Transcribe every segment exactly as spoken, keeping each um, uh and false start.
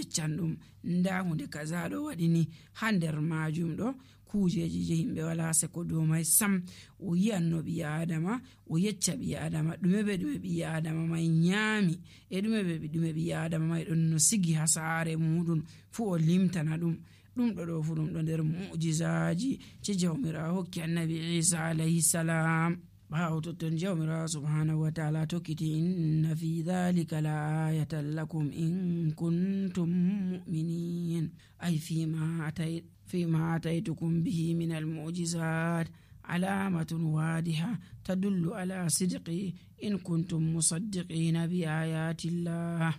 yeccan ɗum nda hunde kaza ɗo waɗini ha nder majum ɗo kujeji je himɓe wala seko dow mai sam. O yi'anno ɓi adama, o yecca ɓi adama ɗume be ɗume ɓi adama mai nyami e ɗume be ɗume ɓi adama mai ɗon no sigi ha saare muɗum fu o limtana ɗum. ɗum ɗo ɗo fu ɗum ɗo nder mu'jizaji je jawmirawo hokki annabi Isa alayhi salam. ɓawo totton jawmirawo subhanahu wa ta'ala tokkiti inna fi dhalika la ayatan lakum in kuntum mu'minin ay fima atay fima ataytukum bihi min al mu'jizat alamatun wadiha tadullu ala sidqi in kuntum musaddiqina bi ayati llah.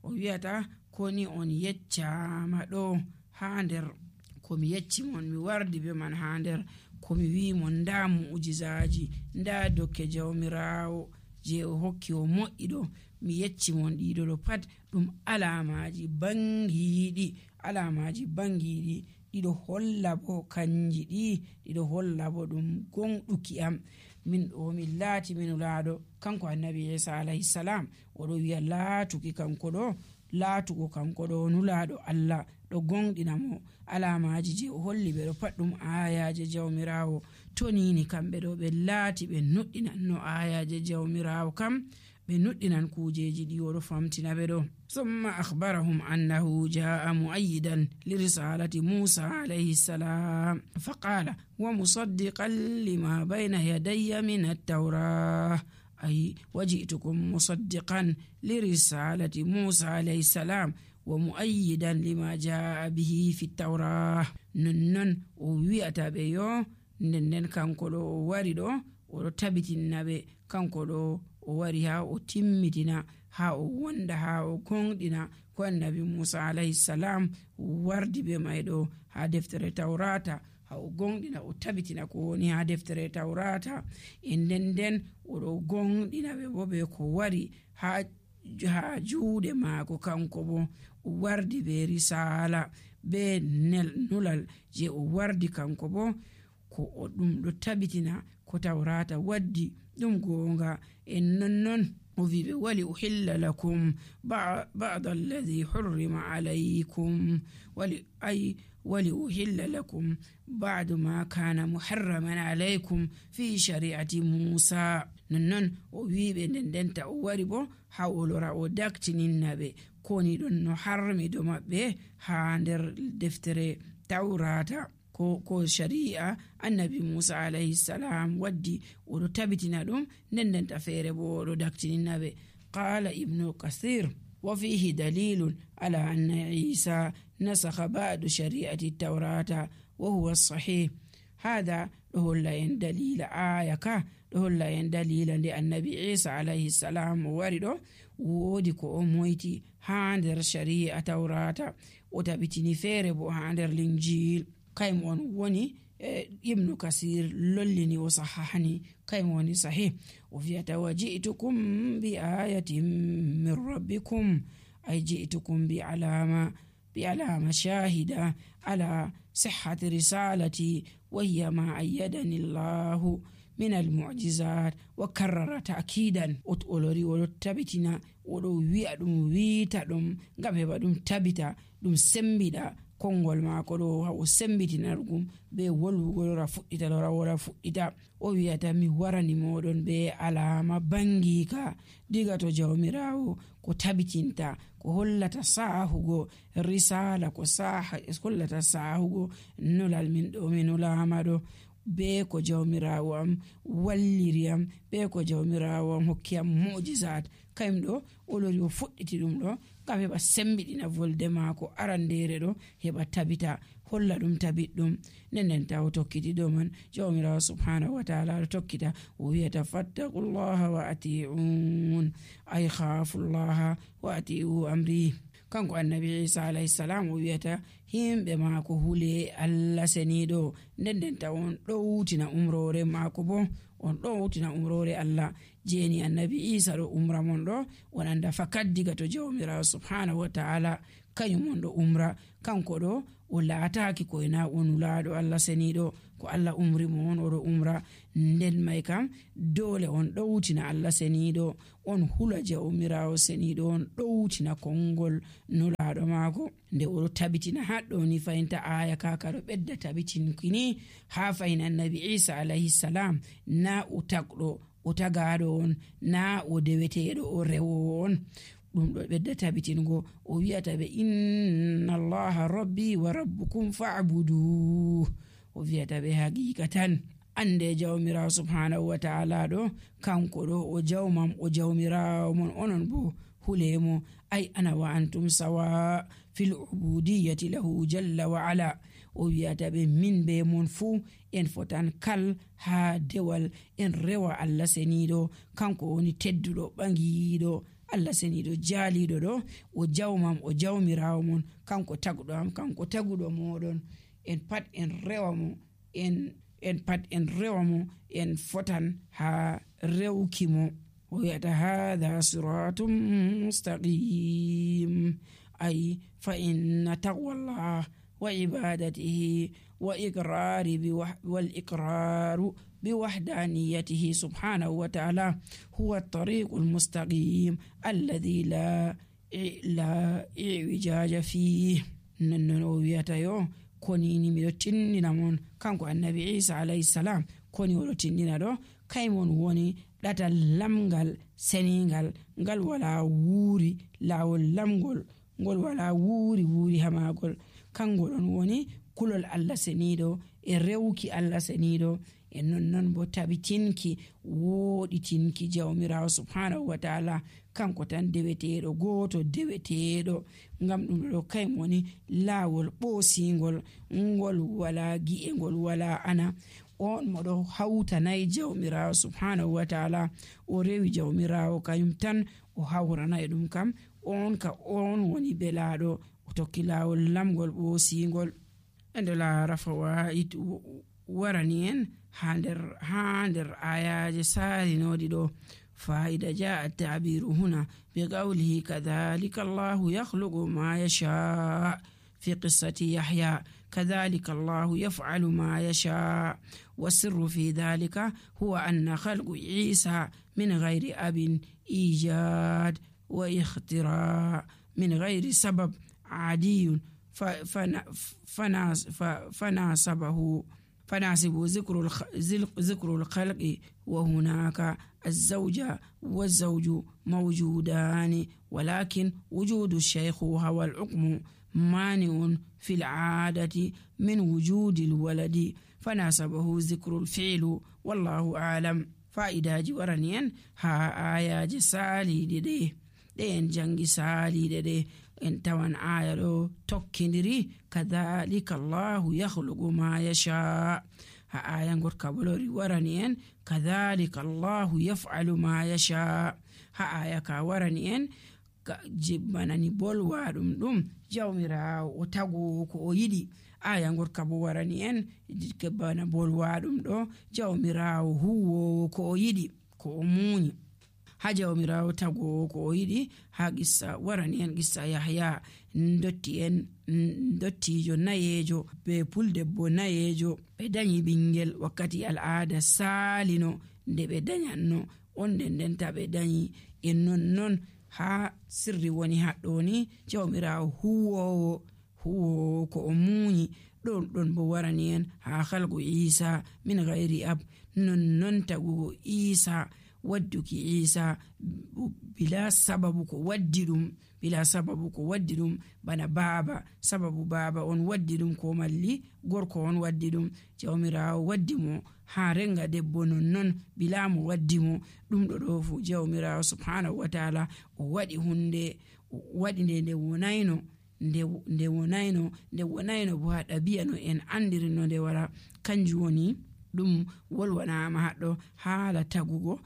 o wiyata koni on yeccama ɗo ha nder komi yecci mon mi wardi be man ha nder komi wi mon nda mu'jizaji nda dokke jawmirawo je o hokki o moƴƴi ɗo mi yecci mon ɗiɗo ɗo pat ɗum alamaji bangiɗi alamaji bangiɗi ɗiɗo holla bo kanji ɗi ɗiɗo holla bo ɗum gonɗuki am min ɗo min laati min laaɗo. Kanko annabi Isa alayhi salam oɗo wiya laatuki kanko ɗo laatugo kanko ɗo nulaɗo Allah ɗo gonɗina mo alamaji je o holli ɓe ɗo pat ɗum ayaje jawmirawo. To nini kamɓe ɗo ɓe laati ɓe nuɗɗinan no ayaje jawmirawo kam ɓe nuɗɗinan kujeji ɗi oɗo famtina ɓe ɗo. summa akhbarahum annahu jaa mu'ayyidan li risalati Musa alayhi salam faqala wa musaddiqan lima bayna yadayya min at-tawrah ay waji'tukum musaddiqan li risalati Musa alayhi salam wa mu'ayyidan lima jaa bihi fi at-tawrah. nonnon o wi'ata ɓe yo nden kanko ɗo o wari ɗo oɗo tabitinna ɓe kanko ɗo o wari ha o timmitina ha o wonda ha o gonɗina ko annabi Musa alayhi salam wardi be mai ɗo ha deftere tawrata ha o gonɗina o tabitina ko woni ha deftere tawrata e nden nden oɗo gonɗina ɓe bo be ko wari ha ha juuɗe maako kanko bo o wardi be risala be nel nulal je o wardi kanko bo ko o ɗum ɗo tabitina ko tawrata waddi ɗum gonga. en nonnon o wiɓe wali uhilla lakum ba'da alladhi hurrima alaykum wali ay wali uhilla lakum ba'du ma kana muharraman alaykum fi shari'ati Musa. nonnon o wiɓe nden denta o wari bo ha o lora o daktininna ɓe koni ɗon no harmi do maɓɓe ha nder deftere tawrata ko ko shari'a annabi Musa alayhi salam waddi oɗo tabitina ɗum nden denta feere bo oɗo daktininna ɓe. qala ibnu kathir wa fihi dalilun ala anna Isa nasakha ba'du shari'ati tawrata wa huwa sahih. hada ɗo holla en dalila aya ka ɗo holla en dalila nde annabi Isa alayhi salam o wari ɗo woodi ko o moyti ha nder shari'a tawrata o tabitini feere bo ha nder linjil. kayum on woni e ibnu kasir lollini o sahahani kayum woni sahih. o fiyata wa ji'tukum bi ayatin min rabbikum ay ji'tukum bi alama bi alama shahida ala sihhati risalati wa hiya ma ayyadani Allahu min al-mu'jizat wa karrara ta'kidan. o olori o tabitina o do wi'a ɗum wiita ɗum ngam heɓa ɗum tabita ɗum sembida kongol maako ɗo ha o sembitinargum be wolwugo lora fuɗɗita lora wora fuɗɗita. o wiyata mi warani moɗon be alama bangika diga to jawmirawo ko tabitinta ko hollata sahugo risala ko saha hollata sahugo nolal min ɗo mi nolama ɗo be ko jawmirawo am walliri am be ko jawmirawo am hokki am mu'jizat. kayum ɗo o lori o fuɗɗiti ɗum ɗo ngam heɓa sembiɗina volde maako arandere ɗo heɓa tabita holla ɗum tabit ɗum nden nden taw tokkiti ɗo man jawmirawo subhanahu wa ta'ala ɗo tokkita o wiyata fattaqullaha wa ati'un ay khafullaha wa ati'u amri. kanko annabi Isa alayhi salam o wiyata himɓe maako hule Allah seniɗo nden nden taw on ɗowtina umrore maako bo on ɗowtina umrore Allah jeni annabi Isa ɗo umra mon ɗo on anda fakat diga to jawmirawo subhanahu wa ta'ala kañum on ɗo umra kanko ɗo o laataki koyna on laaɗo Allah seniɗo ko Allah umri mo on oɗo umra nden may kam dole on ɗowtina Allah seniɗo on hula jawmirawo seniɗo on ɗowtina kongol nulaɗo maako nde oɗo tabitina haɗɗo ni fayinta aya kaka ɗo ɓedda tabitinkini ha fayin annabi Isa alayhi salam na o tagɗo o tagaɗo on na o deweteɗo o rewowo on ɗum ɗo ɓedda tabitingo o wi'ata ɓe inna allaha rabbi wa rabbukum fa'budu o wi'ata ɓe haqiqatan ande jawmirawo subhanahu wa ta'ala ɗo kanko ɗo o jawmam o jawmirawo mon onon bo hulemo ay ana wa antum sawa fil ubudiyyati lahu jalla wa ala o wi'ata ɓe min be mon fuu en fotan kal ha dewal en rewa Allah seniɗo kanko woni tedduɗo ɓangiɗo Allah seniɗo jaaliɗo ɗo o jawmam o jawmirawo mon kanko taguɗo am kanko taguɗo moɗon en pat en rewa mo en en pat en rewa mo en fotan ha rewki mo o wi'ata hadha siratum mustaqim ay fa inna taqwallah wa ibadatihi wa iqrari bi wal iqraru بوحدانيته سبحانه وتعالى هو الطريق المستقيم الذي لا لا اعوجاج فيه ننويتا يو كونيني ميدو تيننا مون كانكو النبي عيسى عليه السلام كوني ولو تيننا دو كايمون woni ɗatal lamgal seningal ngal wala wuuri lawol lamgol ngol wala wuuri wuuri hamagol kangol on woni kulol Allah seniɗo e rewki Allah seniɗo e nonnon bo tabitinki woɗitinki jawmirawo subhanahu wa ta'ala kanko tan deweteɗo goto deweteɗo ngam ɗum ɗo kay woni laawol ɓoosingol ngol wala gi'e ngol wala ana on moɗo hawtanayi jawmirawo subhanahu wa ta'ala o rewi jawmirawo kayum tan o hawrana e ɗum kam on ka on woni belaɗo o tokki laawol lamgol ɓoosingol ende laara fawaid warani en ha nder ha nder ayaje salinodi ɗo فإذا جاء التعبير هنا بقوله كذلك الله يخلق ما يشاء في قصة يحيى كذلك الله يفعل ما يشاء والسر في ذلك هو أن خلق عيسى من غير أب إيجاد واختراع من غير سبب عادي فناسبه فناسب ذكر ذكر الخلق وهناك الزوجة والزوج موجودان ولكن وجود الشيخ هو الحكم مانع في العادة من وجود الولد فناسبه ذكر الفعل والله أعلم. فإذا جورنين ها آية سالي دي دين جنگي سالي دي en tawan aya ɗo tokkidiri kadhalika allahu yahluqu ma yasha ha aya gotka bolori warani en kadhalika allahu yaf'alu ma yasha ha aya ka warani en jibbanani bolwa ɗum ɗum jawmirawo o tago ko o yiɗi aya gotka bo warani en bana bolwa ɗum ɗo jawmirawo huwowo ko o yiɗi ko o muñi ha jawmirawo tago ko o yiɗi ha qissa warani en qissa yahya dotti en dottijo nayejo be puldebbo nayejo ɓe dañi ɓingel wakkati al'ada salino nde ɓe dañanno on nden ndenta ɓe dañi en nonnon ha sirri woni haɗɗo ni jawmirawo huwowo huwowo ko o muñi ɗon ɗon bo warani en ha halgu isa min gayri ab nonnon tagugo isa wadduki isa bila sababu ko waddi ɗum bila sababu ko waddi ɗum bana baaba sababu baaba on waddi ɗum ko malli gorko on waddi ɗum jawmirawo waddi mo ha renga debbo nonnon bila mo waddi mo ɗum ɗo ɗo fu jawmirawo subhanahu wa ta'ala o waɗi hunde waɗi nde nde wonayno nde nde wonayno nde wonayno bo ha ɗabi'a no en andiri no nde wara kanjum woni ɗum wolwanama haɗɗo haala tagugo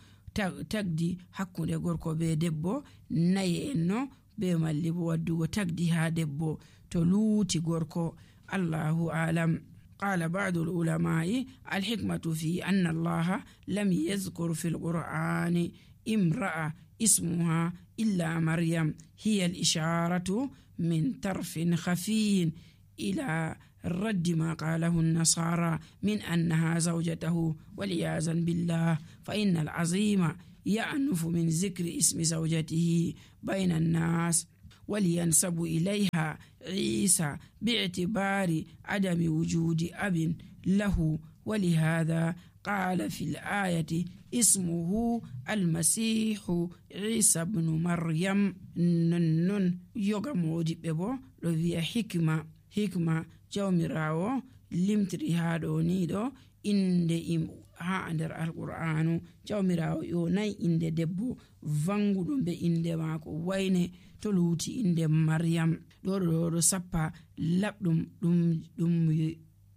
tagdi hakkunde gorko be debbo nayi en no be malli bo waddugo tagdi ha debbo to luuti gorko allahu alam. قال بعض العلماء الحكمة في أن الله لم يذكر في القرآن امرأة اسمها إلا مريم هي الإشارة من طرف خفي إلى رد ما قاله النصارى من أنها زوجته والعياذ بالله، فإن العظيم يأنف من ذكر اسم زوجته بين الناس ولينسب إليها عيسى باعتبار عدم وجود أب له، ولهذا قال في الآية اسمه المسيح عيسى بن مريم. نن يوغا مودي بيبو لو فيا حكمة حكمة jawmirawo limtiri ha ɗo ni ɗo inde im ha nder alqur'anu. jawmirawo yo nayi inde debbo vanguɗum be inde mako wayne to luuti inde maryam. ɗo ɗo ɗo sappa labɗum ɗum ɗum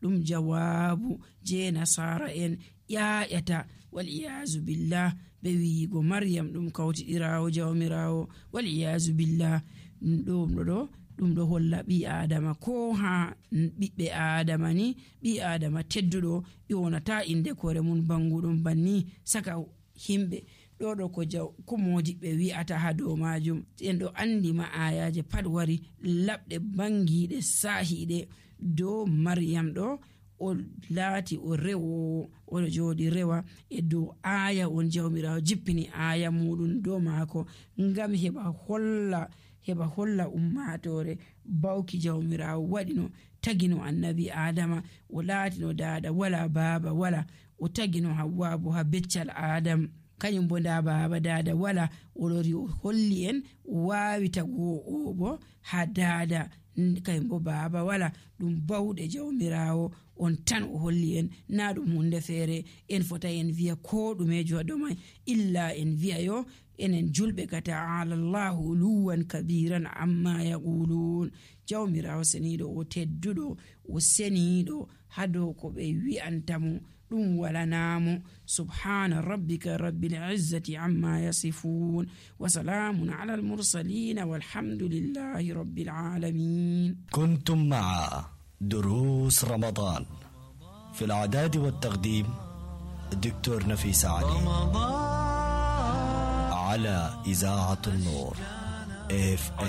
ɗum jawabu je nasara en ƴaƴata wal iyazu billah be wiigo maryam ɗum kawtiɗirawo jawmirawo wal iyazu billah. ɗum ɗo ɗo ɗum ɗo holla ɓi adama ko ha ɓiɓɓe adama ni ɓi adama tedduɗo yonata inde kore mun banguɗum banni saka himɓe. ɗo ɗo ko jaw ko modiɓɓe wi'ata ha dow majum en ɗo andi ma ayaje pat wari labɗe bangiɗe sahiɗe dow maryam ɗo o laati o rewo oɗo joɗi rewa e dow aya on jawmirawo jippini aya muɗum dow maako ngam heɓa holla heɓa holla ummatore bawki jawmirawo waɗino tagino annabi adama o laatino dada wala baba wala o tagino hawwa bo ha beccal adam kañum bo nda baba dada wala oɗori o holli en wawi tago o bo ha dada kañum bo baba wala ɗum bawɗe jawmirawo on tan o holli en na ɗum hunde feere en fota en wiya ko ɗumejo ha ɗomai illa en wiya yo enen julɓe ka ta'ala Allahu uluwan kabiran amma yaqulun. jawmirawo seniɗo o tedduɗo o seniɗo ha dow ko ɓe wi'antamo ɗum walanamo. subhana rabbika rabbil izzati amma yasifun wa salamun ala al mursalin walhamdulillahi rabbil alamin. كنتم مع دروس رمضان في الإعداد والتقديم الدكتور نفيس علي على إذاعة النور إف إم.